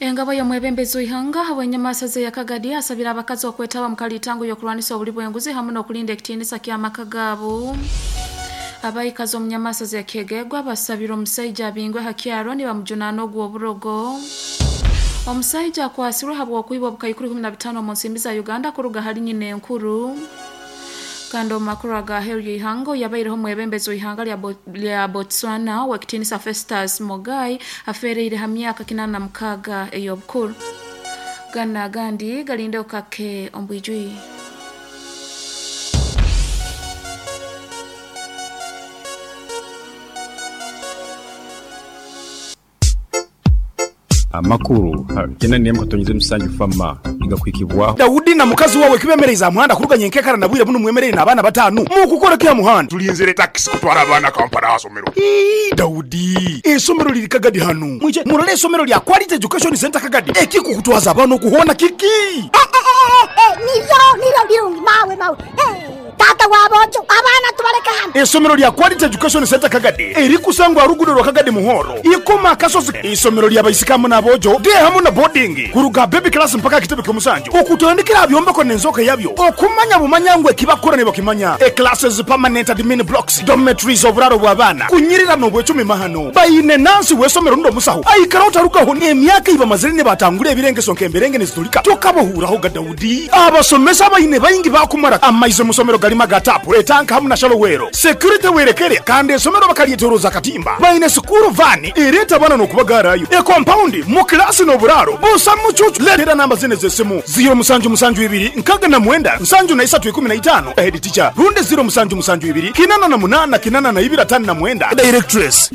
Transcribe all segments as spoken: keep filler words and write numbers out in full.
Engabo y'omwebembezi w'ihanga habw'enyamaasa ze yakagadi asabira abakazi okwetaba mu kalitango y'okurwanisa obuli bw'enguzi hamu n'okulinda ekitiinisa ky'amaka gaabo. Abaikazi omu nyamaasa ze Kyegegwa basabira omusaija abingwe ha kyaro nibamujunaana ogw'oburogo. Omusaija akwasirwe habw'okwiba obukaikuru ikumi na bitaano omu nsimbi za Uganda kuruga hali nyina enkuru. Kandi omu makuru aga heeru y'ihanga, yabaireho omwebembezi w'ihanga lya, Bo, lya Botswana ow'ekitiinisa Festus Mogae afeereire ha myaka kinaana na mukaaga ey'obukuru. Gana agandi galinde okake ombwijwi. Amakuru kyenda n'emwe katonyeze musanju fama igakwikibwaho. Daudi na mukazi wawe kibemereza muhanda kuruganya enkekara na bwire buno mwemerere n'abaana bataano mukukora kya muhanda. Tulinzire takisi kutwara abaana Kampala asomero. Ii, Daudi, esomero liri Kagadi hano mwije murole esomero lya Quality Education Center Kagadi ekikukutwaza abaana okuhona kiki. Niryo niryo birungi mawe mawe. Eh, tata wabojo abaana tubaleka hano. Esomero lya Quality Education Center Kagadi erikusangwa rugudo rwa Kagadi Muhoro ikoma akasozi. Isomero lya baisikamu n'abojo de hamu na boarding kuruga baby class mpaka kitebe ky'omusanju okutandikira byombeko n'enzoka yabyo okumanya bumanya ngwe kibakora ne bakimanya. E classes, permanent admin blocks, dormitories, oburaro bw'abaana kunyirira n'obwecumi mahano bayine nansi w'esomero ndo musaho aikara otarugaho n'emyaka iba mazire ne batangura ebirengeso nk'emberenge nezitulika tokabahuuraho ga Daudi. Abasomesa bayine bayingi bakumara amaize musomero galima gatapu etanka hamu na shalowero security werekere kandi esomero bakalyetoroza katimba bayine sukuru vani ereta abana n'okubagarayo e compound mu klasi n'oburaro busa mucucu. Letera namba zine z'esimu ziro musanju musanju ibiri nkaga na mwenda nsanju na isatu ikumi na itano head teacher runde ziro musanju musanju ibiri kinana na munana kinana na ibiri atano na mwenda directress.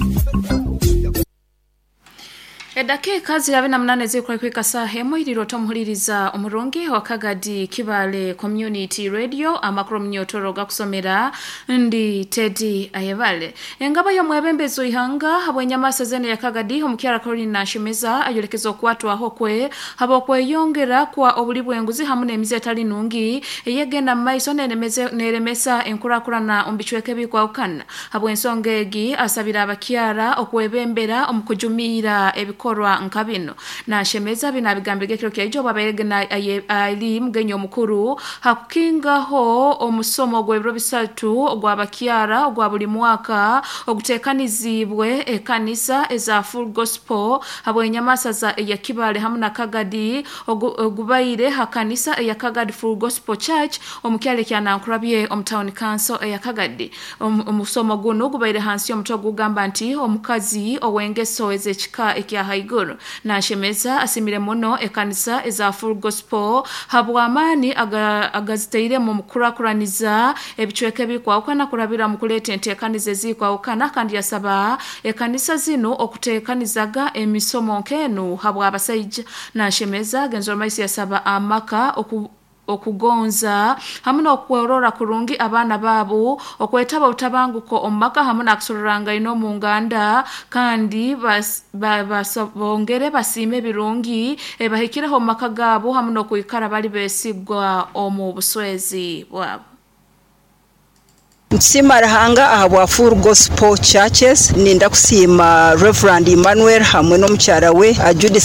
Edakika zirabe na munane zikora kwika saha emwe iriro tomuhuliriza omurungi wa Kagadi Kibale Community Radio amakuru munyotoro gakusomera ndi Teddy Ayebale. Engaba y'omwebembezi w'ihanga habw'enyamaasa zene ya Kagadi omukyara Caroline Nashemeza ayolekeza okwatwaho kwe habw'okweyongera kwa obuli bw'enguzi hamu n'emize etali nungi eyegenda mu maiso n'eremeze- n'eremesa enkurakurana omu bicweka ebikwahukana. Habw'ensonga egi asabira abakyara okwebembera omu kujumiira ebikorwa nka bino. Nashemeza bino abigambire ekiro kyaijo babaire na aye- ali mugenyi omukuru hakukingaho omusomo gw'ebiro bisatu ogw'abakyara ogwa buli mwaka oguteekanizibwe ekanisa eza Full Gospel habw'enyamaasa za eya Kibale hamu na Kagadi ogu- ogubaire ha kanisa eya Kagadi Full Gospel Church omu kyalo ekya Nankurabye omu Town Council eya Kagadi. Omu- omusomo guno gubaire hansi y'omutwe ogugamba nti omukazi ow'engeso ez'ekika ekya haiguru. Nashemeza asimire muno ekanisa eza Full Gospel habw'amaani aga- agazitairemu mu kukurakuraniza ebicweka ebikwahukana kurabira mu kuleeta enteekaniza ezikwahukana kandi yasaba ekanisa zinu okuteekanizaga emisomo nk'enu habw'abasaija. Nashemeza Genzo Maisi yasaba amaka oku okugonza hamu n'okworora kurungi abaana baabo okwetaba obutabanguko omu maka hamu n'akusororangana omu nganda kandi bas- ba- basa- bongere basiime ebirungi ebahikireho omu maka gaabo hamu n'okwikara bali beesigwa omu buswezi bwabo. Nsiima Ruhanga ahabwa Full Gospel Churches. Ninda kusiima Reverend Emmanuel hamwe n'omukyara we uh, Judith.